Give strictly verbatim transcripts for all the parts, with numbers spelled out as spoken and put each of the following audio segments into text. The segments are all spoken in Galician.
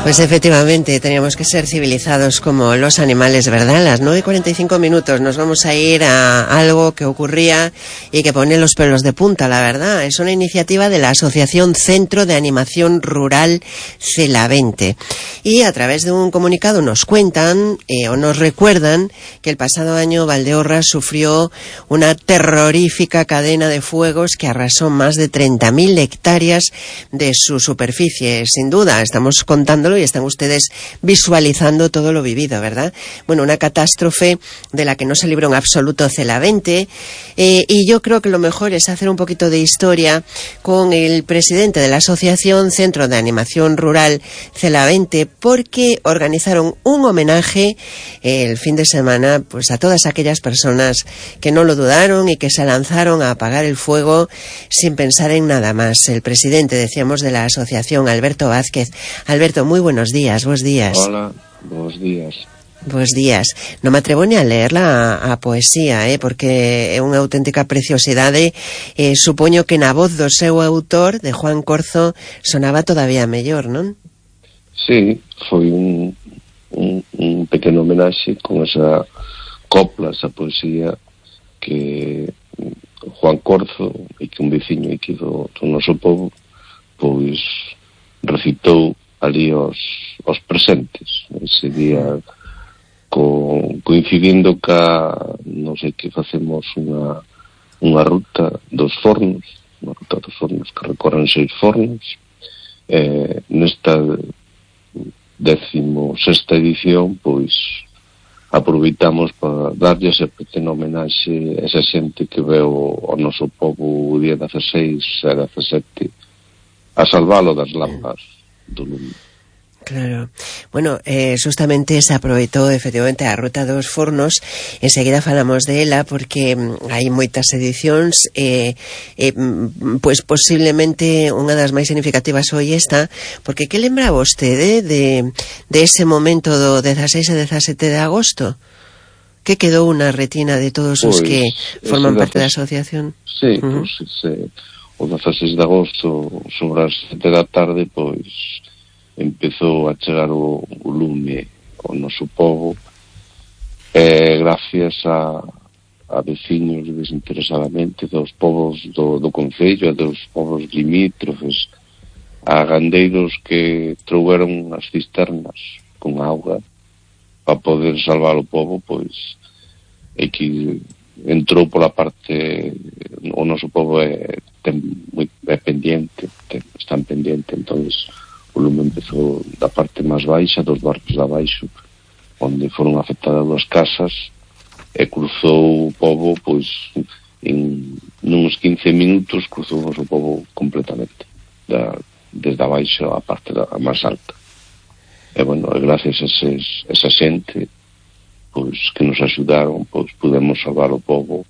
Pues efectivamente, teníamos que ser civilizados como los animales, ¿verdad? A las nueve y cuarenta y cinco minutos nos vamos a ir a algo que ocurría y que pone los pelos de punta, la verdad. Es una iniciativa de la Asociación Centro de Animación Rural Celavente. Y a través de un comunicado nos cuentan eh, o nos recuerdan que el pasado año Valdeorras sufrió una terrorífica cadena de fuegos que arrasó más de treinta mil hectáreas de su superficie. Sin duda, estamos contándolo y están ustedes visualizando todo lo vivido, ¿verdad? Bueno, una catástrofe de la que no se libró en absoluto Celavente, eh, y yo creo que lo mejor es hacer un poquito de historia con el presidente de la Asociación Centro de Animación Rural Celavente, porque organizaron un homenaje eh, el fin de semana pues a todas aquellas personas que no lo dudaron y que se lanzaron a apagar el fuego sin pensar en nada más. El presidente, decíamos, de la asociación, Alberto Vázquez. Alberto, muy buenos días, buenos días. Hola, buenos días. Buenos días. Non me atrevo ni a leerla a, a poesía, eh, porque é unha auténtica preciosidade. Eh, supoño que na voz do seu autor, de Juan Corzo, sonaba todavía mellor, non? Sí, foi un, un, un pequeno homenaxe con esa copla, esa poesía que Juan Corzo, e que un veciño aquí do, do noso povo, pois recitou ali aos, aos presentes ese día, co, coincidindo ca non sei que facemos unha unha ruta dos fornos, unha ruta dos fornos que recorren seis fornos. Eh, nesta décimo sexta edición pois aproveitamos para darlle ese pequeno homenaxe a esa xente que veo ao noso povo o día dezaseis e dezasete a salvalo das lampas do lume. Claro. Bueno, eh, justamente se aproveitou efectivamente a ruta dos fornos. Enseguida falamos de ela porque mm, hai moitas edicións, eh, eh, pois posiblemente unha das máis significativas foi esta, porque que lembra vostede de, de ese momento do dezaseis e dezasete de agosto? Que quedou na retina de todos os Pois, que forman parte da dezasete asociación? Sí, Uh-huh. pois ese, o dezaseis de agosto sobre as sete da tarde pois empezou a chegar o, o lume ao noso povo, e gracias a, a veciños desinteresadamente dos povos do, do concello e dos povos limítrofes, a gandeiros que trouberon as cisternas con auga para poder salvar o povo, pois e que entrou pola parte, o noso povo é, ten, moi, é pendiente, ten, están pendiente, entonces o lume empezou da parte máis baixa dos barcos de abaixo, onde foron afectadas as casas, e cruzou o povo, pois en nuns quince minutos cruzou o noso povo completamente, da, desde abaixo a parte da, a máis alta. E bueno, gracias a eses, esa xente pois que nos axudaron, pois pudemos salvar o povo.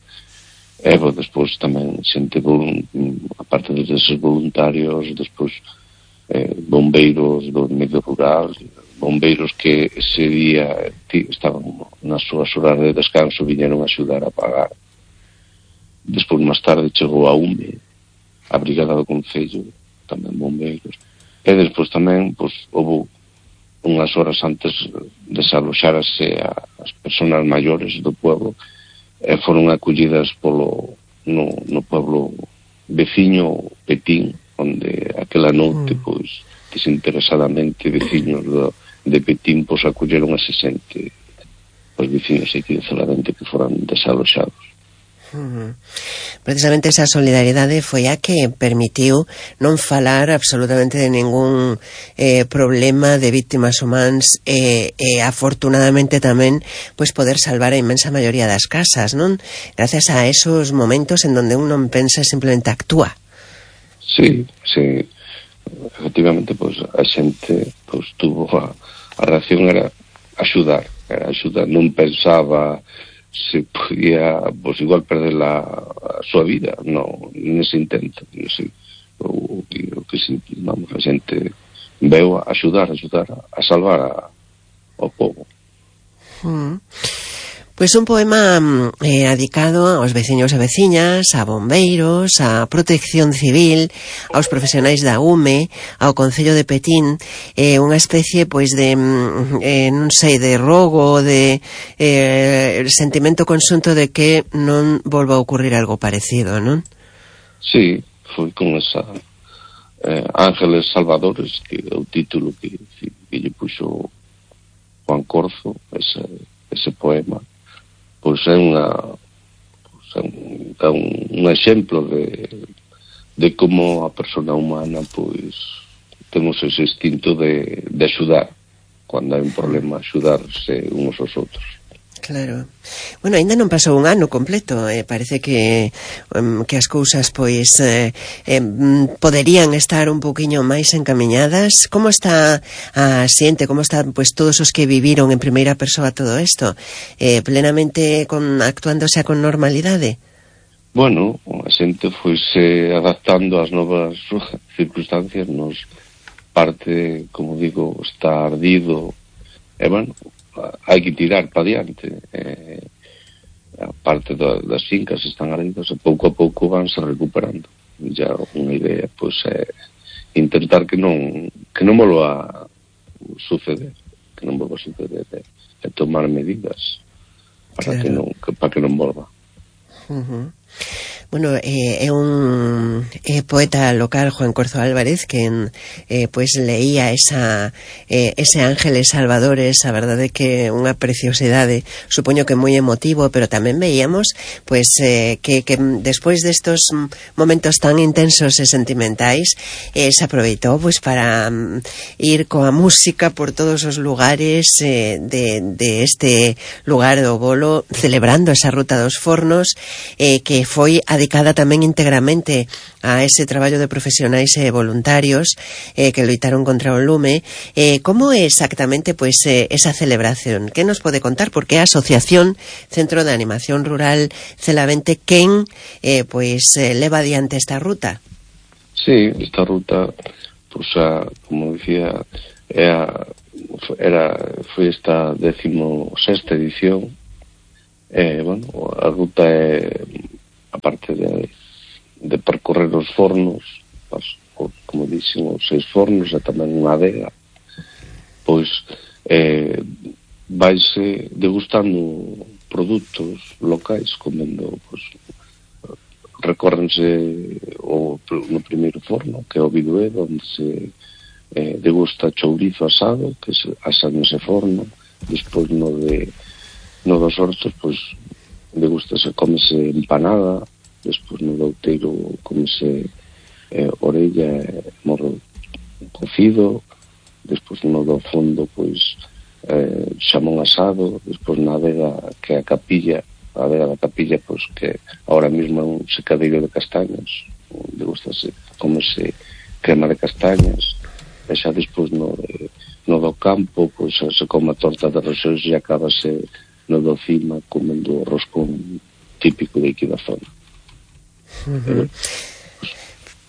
E pois, despois tamén xente, a parte deses voluntarios, despois eh, bombeiros do medio rural, bombeiros que ese día tí, estaban nas súas horas de descanso, viñeron a axudar a apagar. Despois máis tarde chegou a UME, a Brigada do Concello, tamén bombeiros. E despois tamén pois houve unhas horas antes desaloxarase as persoas maiores do pueblo, e foron acollidas polo no, no pueblo veciño Petín, onde aquela noite pois desinteresadamente veciños do, de Petín pois acolleron a xente, os veciños aquí de Celavente que foran desaloxados. Uh-huh. Precisamente esa solidaridade foi a que permitiu non falar absolutamente de ningún eh, problema de víctimas humanas, e eh, eh, afortunadamente tamén pois poder salvar a inmensa maioría das casas, non? Gracias a esos momentos en donde un non pensa, simplemente actúa. Sí, sí, efectivamente pois a xente pois tuvo a, a reacción era axudar, era axudar, non pensaba se podía, pois igual perder la, a súa vida, no, nese intento, nese, o, o, o que se, vamos, a xente veu a axudar, axudar a, a salvar a, ao povo. Mm. Pois un poema eh, dedicado aos veciños e veciñas, a bombeiros, a protección civil, aos profesionais da U M E, ao Concello de Petín, eh, unha especie pois de eh, non sei, de rogo, de eh, sentimento conxunto de que non volva a ocurrir algo parecido, non? Sí, foi con esa eh, Ángeles Salvadores, que é o título que, que lle puxo Juan Corzo, ese, ese poema. Pois é unha pois é un, é un, un exemplo de, de como a persona humana pois temos ese instinto de, de axudar cando hai un problema, axudarse uns aos outros. Claro. Bueno, ainda non pasou un ano completo, eh, parece que um, que as cousas pois eh, eh, poderían estar un poquinho máis encamiñadas. Como está a xente, como están pois todos os que viviron en primeira persoa todo isto? Eh, plenamente con, actuándose con normalidade? Bueno, a xente foise adaptando ás novas circunstancias, nos parte, como digo, está ardido, e bueno, hai que tirar para diante. Eh, a parte da, das fincas están ardidas e pouco a pouco vanse recuperando. Ya unha idea pois é intentar que non que non volva a suceder, que non volva a suceder e, e tomar medidas para claro. que non que, para que non volva. Uh-huh. Bueno, eh, é un eh, poeta local, Juan Corzo Álvarez, que eh, pues leía esa eh, ese Ángeles Salvadores, a verdade que unha preciosidade, supoño que moi emotivo, pero tamén veíamos pues eh, que, que despois destos momentos tan intensos e sentimentais eh, se aproveitou pues para um, ir coa música por todos os lugares eh, de, de este lugar do Bolo, celebrando esa ruta dos fornos, eh, que foi dedicada tamén íntegramente a ese traballo de profesionais e voluntarios eh, que loitaron contra o lume. Eh, como é exactamente pois eh, esa celebración? Que nos pode contar? Porque a Asociación Centro de Animación Rural Celavente quen eh, pois eh, leva adiante esta ruta? Sí, esta ruta pois a, como dicía era, era foi esta décimo sexta edición. Eh, bueno, a ruta é aparte de, de percorrer os fornos, as, como dixen, os seis fornos e tamén unha adega, pois eh, vaise degustando produtos locais, comendo, pois, recórrense o, no primeiro forno, que é o Biduedo, onde se eh, degusta chourizo asado, que se asa nese forno. Despois no de no dos hortos, pois degústase, comese empanada. Despois no do outeiro comese eh, orella e morro cocido. Despois no do fondo pois eh, xamón asado. Despois na adega, que é a capilla, a adega da capilla, pois que ahora mesmo é un secadeiro de castañas, degústase, comese crema de castañas. E xa despois no, de, no do campo pois se come a torta de rosóns e acabase no do cima comendo o roscón típico de aquí da zona. Uh-huh.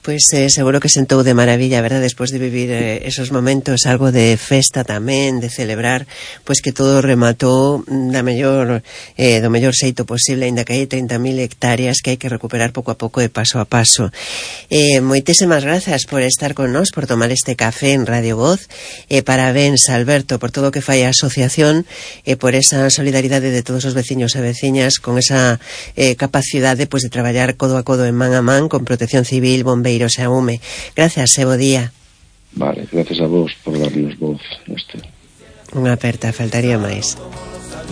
Pois eh, seguro que sentou de maravilla, verdad, despois de vivir eh, esos momentos, algo de festa tamén, de celebrar, pois que todo rematou da mellor eh, do mellor xeito posible, aínda que hai trinta mil hectáreas que hai que recuperar pouco a pouco e paso a paso. Eh, moitísimas grazas por estar con nós, por tomar este café en Radio Voz. Eh, parabéns, Alberto, por todo o que fai a asociación e eh, por esa solidaridade de todos os veciños e veciñas, con esa eh, capacidade pois de traballar codo a codo en man a man con Protección Civil, Bombeiros e a U M E. Gracias e bo día. Vale, gracias a vos por darnos voz neste. Unha aperta, faltaría máis.